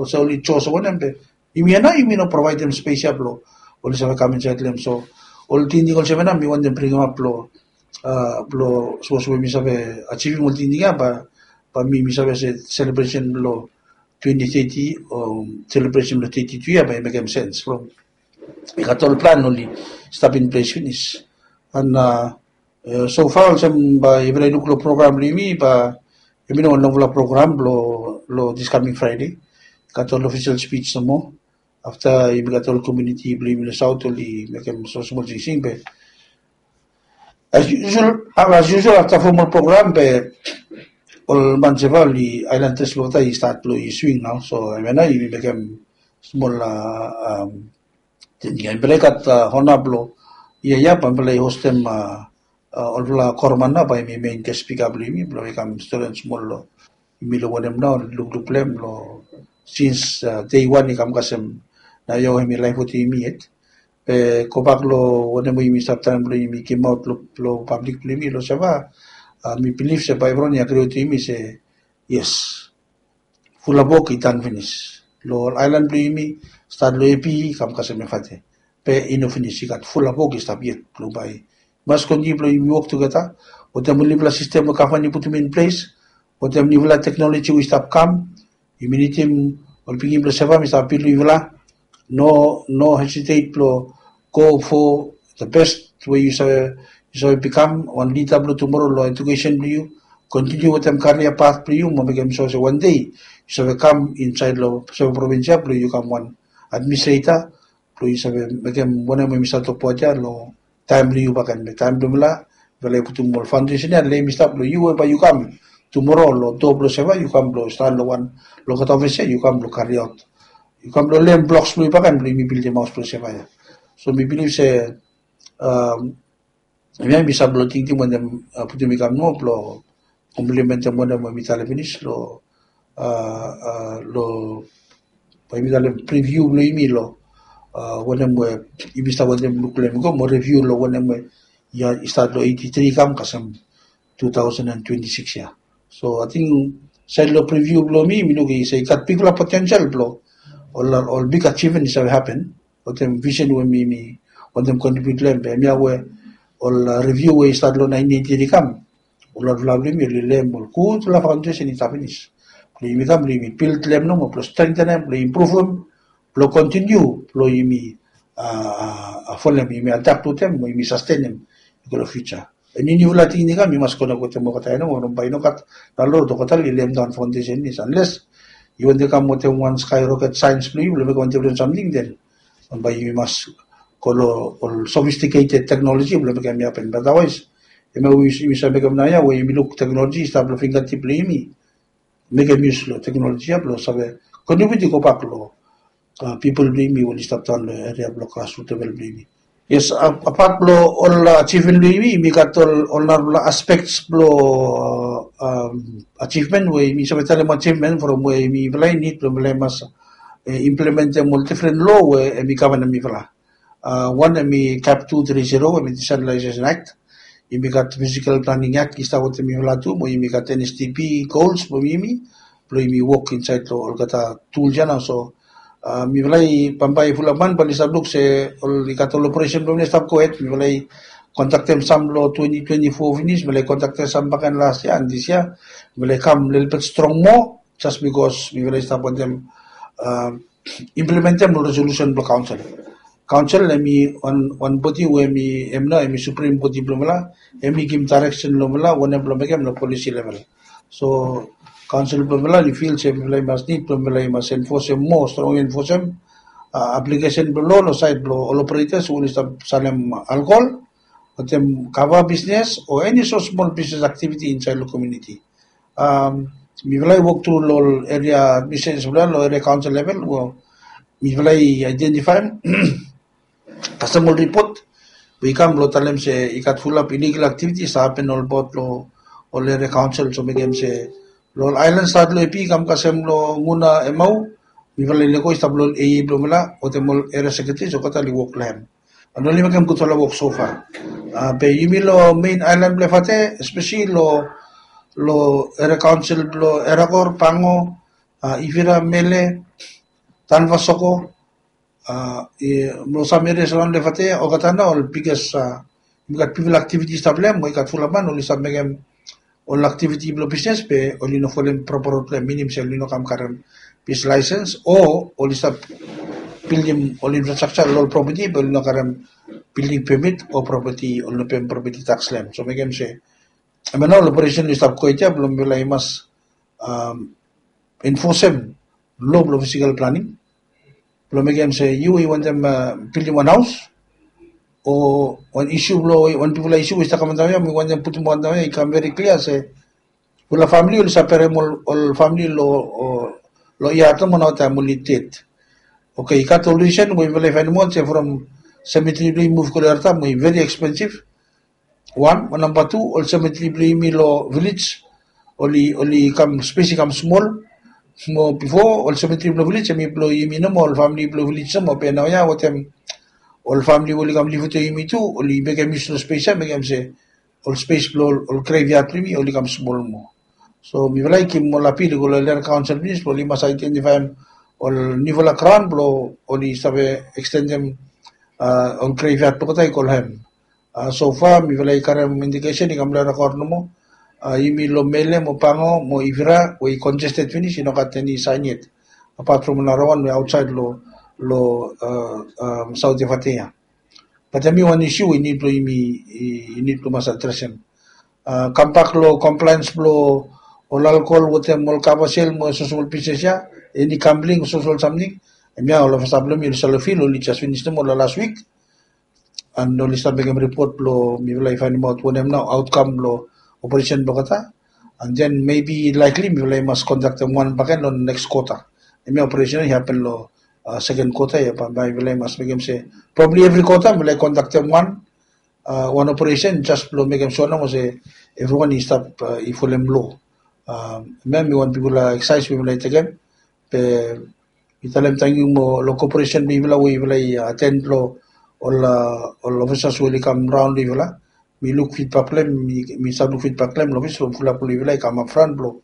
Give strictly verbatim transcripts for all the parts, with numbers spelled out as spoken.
se oli jos wanem be yumi ya nao yumi no provaedem spes ya blong oli save kam insaed long hem. So ol tingting olsem ya nao mi wantem bringim ap blong blong sapos we mi save ajivim ol tingting ya bae mi mi save se selebresen blong twenty thirty o selebresen blong thirty two ya bae i mekem sens from i gat ol plan oli stap in ples finis. An sofa olsem bae yufala i luk long program blong yumi bae yumi no wan longfala program long long this coming Friday. Gat ol ofisel spij nomo afta yumi gat ol komuniti blong yumi long saut oli mekem smol smol singsing be as usual as usual afta formal program be ol man seva oli ailan tes blong olgeta i stat blong i swing nao. So hemia nao yumi mekem smol tingting ya mifala i gat hona blong yia ya bae mifala i hostem olfala korman nao bae yumi mein ges spika blong yumi blong i kam stolen smol long yumi long wanem nao lukluk blong hem long sins dei wan i kam kasem nao ya we hemi laef wetem yumi yet. Be gobak long wanem we yumi stap taem blong yumi gimaot long pablik blong yumi long seva mi bilif se bae evriwan i agri wetem yumi se yes, fulap wok i tan finis long ol aelan blong yumi stat long epi i kam kasem efate. Be i no finis i gat fulap wok i stap yet blong bae i mas kontiniu blong yumi wok tugeta wetem ol nifala sistem we gavman i putum in ples wetem nifala teknoloji we i stap kam. Yumi nidim ol pikinini blong seva mi stap bilong yufala no no hesitet blong go fo the best we yu save yu save bikam wan lida blong tumoro long edukesen blong yu. Kontiniu wetem karia pat blong yu mo mekem so se wan dei yu save kam insaed long seva provins ya blong yu kam wan administreta blong yu save mekem wanem we mi save tokbaot ya long taem blong yu baken be taem blong mifala mifala i putum ol faundesen ya lem i stap long yu we bae yu kam tumoro long do blong seva yu kam blong stan long wan long gat ofis ya yu kam blong kariaot yu kam blong lem bloks blong yu baken blong yumi bildim haos blong seva ya. So mi bilif se hemia mi save blong tingting wanem putum i kam nomo blong komplimentem wanem we mi talem finis long long bae yumi talem priviu blong yumi long wanem we yumi stap wantem luk long hem i go mo reviu long wanem we i stat long eighty three i kam kasem two thousand and twenty six ya. So ating saed long priviu blong mi mi luk i se i gat bigfala potensel blong ol ol big achievement i save hapen wetem visen we mi mi wantem kontribiut long hem be hemia we ol reviu we i stat long nineteen eighty three i kam ol laefala blong yumi oli lem ol gudfala faundesen i stap finis blong yumi kam blong yumi bil long hem nomo blong strengtenem blong impruvum blong kontiniu blong yumi folem yumi adap wetem mo yumi sastenem i go long fiuja. Eni niufala tingting kam i mas konek wetem olgeta ya nomo bae i no gat nalot olgeta i lem daon faundesen is anles yu wantem kam wetem wan skaeroket saens blong yu blong mekem wan difren samting den bae yu mas go long ol sofistiketed teknoloji blong mekem i hapen be otherwise hemia we yumi save mekem naoia we yumi luk teknoloji i stap long fingatip blong yumi mekem yus long teknoloji ya blong save kontribiut i gobak long pipol blong yumi we oli stap daon long eria blong grasrut level blong yumi. Yes, apat blong ol ajivmen blong yumi yumi gat ol ol narafala aspeks blong ajivmen we yumi save talem ajivmen from we yumi mifala i nid blong mifala i mas implementem ol difren lo we hemi gavanem mifala. Wan hemi cap two three zero hemi decentralization act. Yumi gat physical planning act i stap wetem mifala tu mo yumi gat NSDP goals blong yumi blong yumi wok insaed long olgeta tools ya nao so mifala i bambae fulap man bae oli stap luk se ol i gat ol operesen blong mifala i stap gohed mifala i kontaktem sam long twenty twenty four finis mifala i kontaktem sam baken las yia and dis yia mifala i kam lelebet strong moa jas bikos mifala i stap wantem implementem long resolusen blong kaonsel. Kaonsel hemi wan bodi we hemi hem nao hemi suprim bodi blong mifala hemi givim daereksen long mifala wanem blong mekem long polisi level. So kaonsel blong mifala oli fil se mifala i mas nid blong mifala i mas enfosem moa strong enfosem aplikesen blong lo long saed blong ol operetas we oli stap salem alkohol wetem kava bisnes o eni so smol bisnes aktiviti insaed long komuniti. Mifala i wok tru long ol eria administresen blong long eria kaonsel level we mifala i aedentifaem kasem ol ripot we i kam blong talem se i gat fulap iligal aktiviti i stap hapen olbaot long ol eria kaonsel so mekem se long ol aelan stat long epi i kam kasem long nguna emau mifala i lego i stap long ol AA blong mifala wetem ol eria sekretari olgeta oli wok long hem. An oli mekem gudfala wok sofa. Be yumi long mein aelan blong efate espeseli long long eria kaonsel blong erakor pango ifira mele Tanva Soko, a, i, long sam eria araon long Lefatea, olgeta nao ol biggest, a, i gat bigfala aktiviti i stap long hem, mo i gat fulap man oli stap mekem ol aktiviti blong bisnes be oli no folem propa rod long hem, minim se oli no kam karem bisnes laesens o oli stap bildim ol infrastructure long ol propeti be oli no karem building permit o propeti, oli no pem propeti taks long hem. So mekem se hemia nao ol operesen oli stap go ia blong mifala i mas, am, enfosem lo blong fisikal planing blong mekem se yu i wantem, a, bildim wan haos o wan isiu blong wan bigfala isiu we i stap kam antap ia, mi wantem putum antap ia i kam veri klia se ol famili oli save berem ol, ol famili long, o, long yat nomo nao taem oli ded. Oke, i gat ol risen we yufala i faenemaot se from semetri blong yumi muv go long Yarta mo i veri ekspensif. Wan, mo namba tu, ol semetri blong yumi long vilej oli, oli kam, spes i kam smol. Mo bifo ol semetri blong vilej hemi blong yumi nomo, ol famili blong vilej nomo, be naoia wetem ol famili we oli kam liv wetem yumi tu oli mekem yus long spes ia, mekem se ol spes blong ol, ol grevyat blong yumi oli kam smol moa. So mifala i givim ol apil i go long land council finis blong oli mas aedentifaem ol niufala graon blong oli save ekstendem, a, ol grevyat blong olgeta i go long hem. A, so far mifala i karem indikesen i kam long rekod nomo. A, yumi long Mele mo Pango mo Ivira we i congested finis i no gat eni saen yet, apat from narawan we aotsaed long, long, a, am, Saot Lefatea. Bat hemi wan isiu we i nid blong yumi, i, i nid blong mas adresem. A, kambak long compliance blong ol alkohol wetem ol kava sel mo soso ol bisnes ia, eni gambling, soso ol samting. Hemia ol ofisa blong yumi oli save fil oli jes finis nomo long las wik. And oli stap mekem ripot blong mifala i faenemaot wanem nao aotkam blong operesen blong olgeta. And then maybe likely mifala i mas kondaktem wan bakegen long neks kwota. Hemia operesen i hapen long, a, seken kwota ia, bambae mifala i mas mekem se probably evri kwota mifala i kondaktem wan, a, wan operesen jes blong mekem sua nomo se evriwan i stap, a, i folem lo. A, hemia hemi wan bigfala eksaes we mifala i tekem. Be mi talem tangkiu mo long koperesen blong yufala we yufala i aten long ol, a, ol ofisas we oli kam raon long yufala. Mi luk fidbak blong hem, mi, mi stap luk fidbak blong hem long ofis from fulap blong yufala i kam apfran blong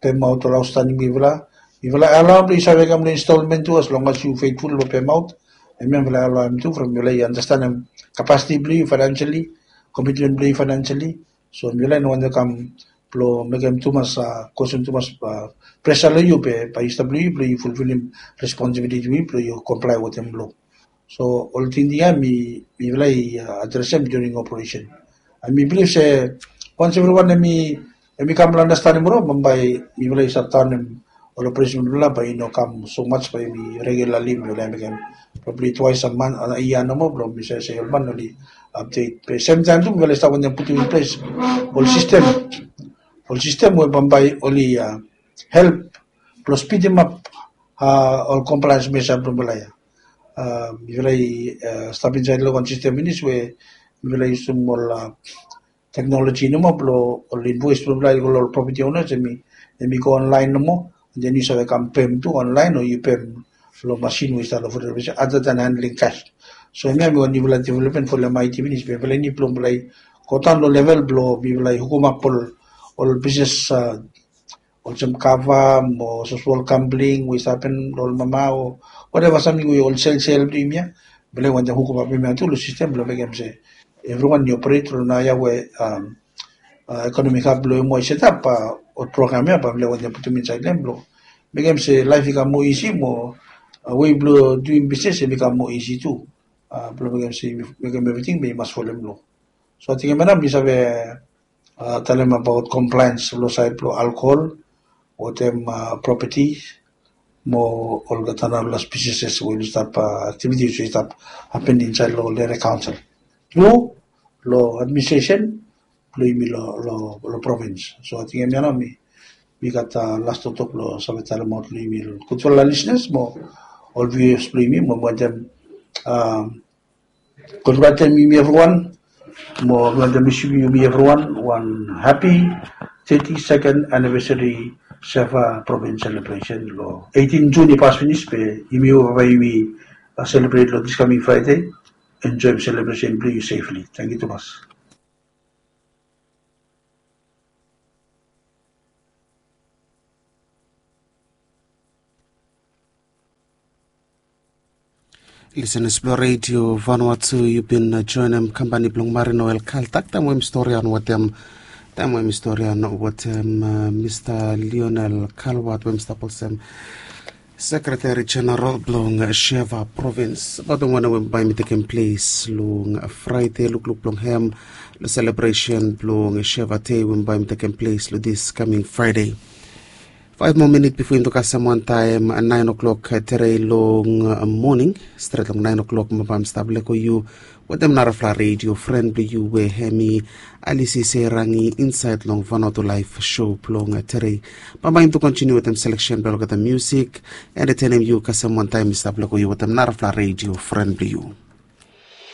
pemaot ol aostaning blong yufala. Yufala i alaoem blong i save kam long instalmen tu as long as yu feitful long pemaot. Hemia mifala i alaoem tu from yufala i andastanem kapasiti blong yu faenansiali, komitmen blong yu faenansiali. So mifala i no wantem kam blong mekem tumas, a, kosem tumas, a, presa long yu be bae i stap long yu blong yu fulfilim responsibiliti blong yu blong yu komplae wetem lo. So ol tingting ia mi, mifala i, a, adresem during operesen. And mi bilif se wans evriwan hemi, hemi kam long andastanem ol, bambae mifala i stap taonem ol operesen blong mifala bae i no kam so much, bae yumi regularly mifala i mekem probably twice a month, a, yia nomo blong mi save se ol man oli update. Be semtaem tu mifala i stap wantem putum in ples ol sistem, ol sistem we bambae oli, a, help blong spidimap, a, ol compliance measure blong mifala ia. A, mifala i, a, stap insaed long wan sistem finis we mifala i yusum ol, a, teknoloji nomo blong ol invoes blong mifala i go long ol property owners, hemi, hemi go online nomo, and then yu save kam pem tu online o yu pem long masin we i stap long Food Reservation other than handling cash. So hemia hemi wan niufala developmen folem I T finis be mifala i nid blong mifala i go daon long level blong mifala i hukumap ol, ol bisnes, a, olsem kava mo soso ol gambling we i stap hapen long ol mama o whatever samting we ol selsel blong yumi ia. Mifala i wantem hukumap hemia tu long sistem blong mekem se evriwan i operet long naoia we, am, a, ekonomi hab blong yumi i setap, a, ol program ia bae mifala i wantem putum insaed long hem blong mekem se laef i kam moa isi mo, a, wei blong duim bisnes hemi kam moa isi tu, a, blong mekem se, mekem evriting be i mas folem lo. So ating hemia nao mi save, a, talem abaot compliance long saed blong alkohol wetem, a, property mo olgeta nao las businesses we oli stap, a, activities we i stap hapen insaed long ol eria kaonsel tru long administresen blong yumi long, long, long provins. So ating hemia nao mi, mi gat, a, las toktok blong save talemaot long yumi gudfala lisenas mo ol viewers blong yumi mo mi wantem, a, Kongratulate yumi evriwan mo mi wantem wis yumi evriwan wan hapi teti seken anivesari Seva Provins selebresen long eitin Jun i pas finis be yumi ova bae yumi, a, selebret long dis kaming Fraede. Enjoem selebresen blong yu sefli. Tangkiu tumas. Lisenas blong redio Vanuatu, yu bin joenem kampani blong Marin Oel Kaltak taem we mi storian wetem taem we mi storian wetem Mista Lionel Kalwat we mi stap olsem Sekretari Jeneral blong Sheva Provins. Batem wanem we bae mi tekem ples long Fraide, lukluk blong hem long selebresen blong Sheva Dei we bae mi tekem ples long dis kaming Fraide. Faef moa minit bifo yumi tu kasem wantaem naen oklok tere long moning, stret long naen oklok mi bae mi stap lego yu wetem narafala redio fren blong yu we hem i Alisi Serangi insaed long Vanuatu Laef Sho blong tere. Bambae yumi tu kontiniu wetem seleksen blong olgeta musik, entetenem yu kasem wantaem mi stap lego yu wetem narafala redio fren blong yu.